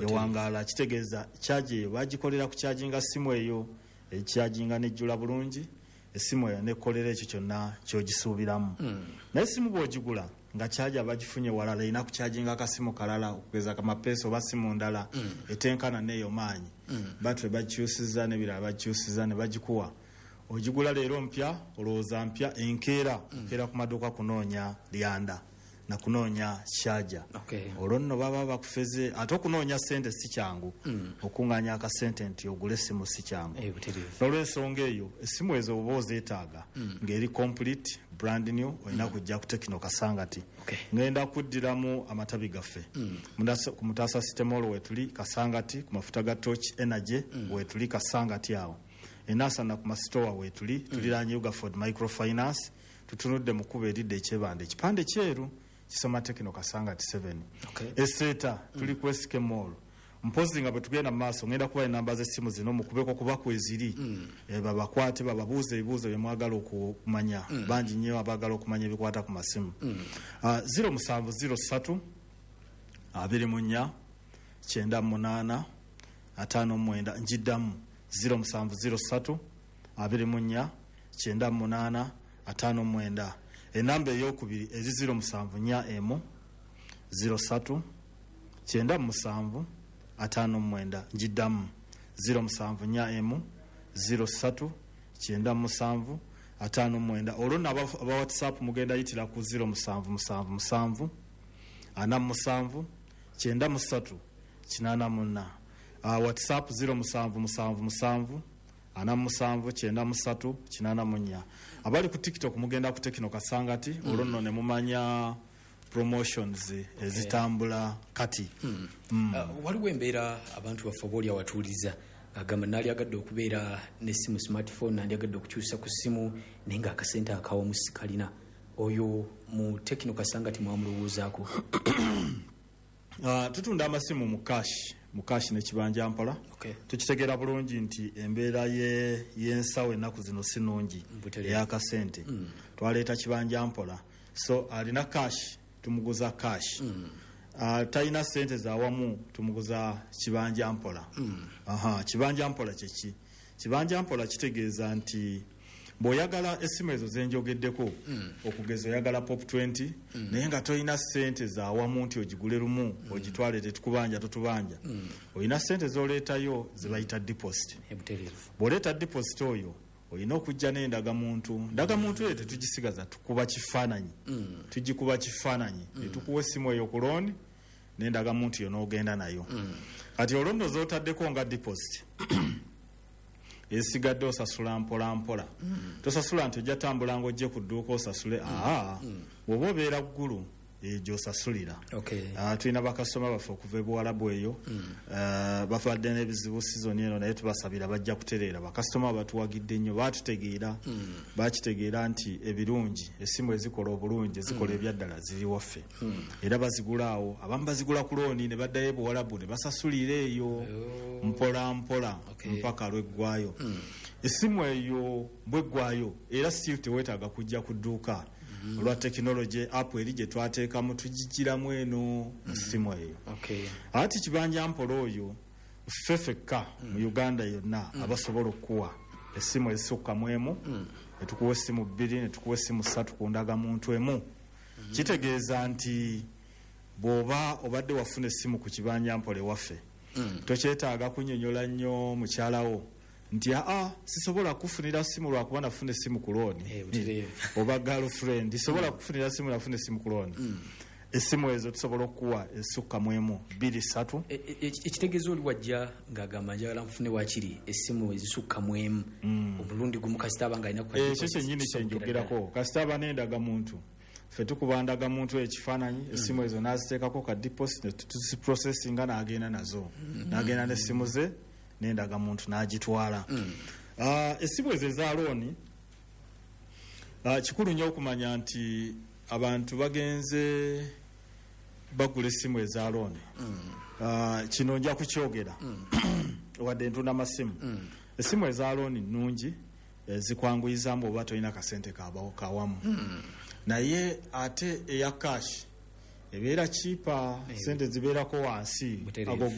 Ewangaala kitegeeza charger eyo bagikolera ku charginga simu eyo, echarginga nejjula bulungi essimu eyo nekolera ekyo kyonna kyogisuubiramu. Naye essimu bw'ogigula nga charger bagifunye walala, erina kucharginga akasimu kalala, okugeza kamapeesa oba simu ndala etenkana neeyo maanyi. Battery bagikyusiza n'ebirala bagikyusiza ne bagikuwa. Ogigula leero mpya, olowooza mpya, enkeera okeera ku maduuka kunoonya lyanda na kunoonya charger. Olwo nno baba bakufeze. Ate okunoonya sente si kyangu, okuŋŋaanya akasente nti ogule essimu si kyangu. N'olwensonga eyo, essimu ezo oba ozeetaaga ng'eri complete, brand new, olina kujja ku Tecno Kasangati. Ngenda kuddiramu amatabi gaffe. Ku Mutaasa City Mall wetuli Kasangati, ku mafuta ga Torch Energy wetuli Kasangati awo. Enasana ku masitowa wetuli, tuliraanye Ugaford Microfinance, tutunudde mu kkubo eridda Ekyebanda, ekipande kyeru kisoma Tecno Kasangati 7. Eseeta tuli ku SK Mall. Mpozi nga bwe tugenda mu maaso ngenda kuba enamba z'essimu zino, mukubeko kuba kweziri, babakwate bababuuze ebibuuzo bye mwagala okumanya. Bangi nnyo abaagala okumanya ebikwata ku masimu. 0703 24 98 59. Njiddamu, 0703 24 98 59. Enamba eyokubiri eri 0741 03 97 59. Njiddamu, 0741 03 97 59. Olwo nno aba WhatsApp mugenda yitira ku 0777 47 93 84. WhatsApp 0777 47 93 84. Abali ku TikTok mugenda ku Tecno Kasangati, olwo nno ne mumanya promotions ezitambula kati. Waliwo embeera abantu baffe oba oli awatuuliza agamba naalyagadde okubeera n'essimu smartphone, nandyagadde okukyusa ku ssimu naye ng'akasente akawamu sikalina. Oyo mu Tecno Kasangati mwamulowoozaako? Tutunda amasimu mu cash, mu cash nekibanja mpola. Tukitegeera bulungi nti embeera y'ensawo ennaku zino si nnungi ey'akasente. Twaleeta kibanja mpola, so alina cash tumuguza cash, talina sente zawamu tumuguza kibanja mpola. Aha, kibanja mpola kyeki? Kibanja mpola kitegeeza nti bw'oyagala essimu ezo zenjogeddeko, okugeza oyagala Pop 20, naye nga tolina sente zawamu nti ogigule lumu ogitwale, tetukubanja, totubanja, olina sente zoleetayo zebayita deposit. Bw'oleeta deposit oyo, olina okujja n'endagamuntu. Ndagamuntu eyo tetugisigaza, tukuba kifaananyi, tugikuba kifaananyi netukuwa essimu eyo ku loan n'endagamuntu yo n'ogenda nayo. Kati olwo nno z'otaddeko nga deposit, esigadde osasula mpola mpola. Tosasula nti ojja tambula ng'ojje ku dduuka osasule. Aa, bw'oba obeera Ggulu eyo gy'osasulira. Tulina bakasitoma baffe okuva e Buwalabu eyo, babadde n'ebizibu sizoni eno, naye tubasabira bajja kutereera. Bakasitoma batuwagidde nnyo, batutegeera, bakitegeera nti ebirungi, essimu ezikola obulungi, ezikola ebyaddala ziri waffe, era bazigula awo. Abamu bazigula ku loan ne baddayo e Buwalabu ne basasulira eyo mpola mpola mpaka lweggwayo. Essimu eyo bweggwayo, era still teweetaaga kujja ku dduuka olwa tekinologi app eri gye twateekamu, tugigiramu eno mu ssimu eyo. Ati kibanja mpola oyo ffe ffekka mu Uganda yonna abasobola okukuwa essimu ezisukka mu emu, netukuwa essimu 2, netukuwa essimu 3 ku ndagamuntu emu. Kitegeeza nti bw'oba obadde wafuna essimu ku kibanja mpola ewaffe, tokyetaaga kunnyonnyola nnyo mukyalawo nti aa, sisobola kufunira simu lwakuba nafuna essimu ku loan, oba girlfriend, sobola kufunira simu, nafuna essimu ku loan. Essimu ezo tusobola okukuwa ezisukka mu emu, 2, 3. Ekitegeeza oli wajja ng'agamba njagala nfune wakiri essimu ezisukka mu emu omulundi gumu, kasita aba nga alina ku Ekyo kyennyini kyenjogerako. Kasita aba n'endagamuntu, ffe tukuba ndagamuntu ekifaananyi, essimu ezo n'aziteekako ka deposit ne tuziprocessinga, n'agenda nazo, n'agenda n'essimu ze n'endagamuntu n'agitwala. Essimu ezo eza loan, kikulu nnyo okumanya nti abantu bagenze bagula essimu eza loan. Kino nja kukyogera wadde ntunda masimu. Essimu eza loan nnungi, zikwanguyizaamu oba tolina kasente kawamu, naye ate eya cash ebeera cheaper, sente zibeerako wansi. Ago ge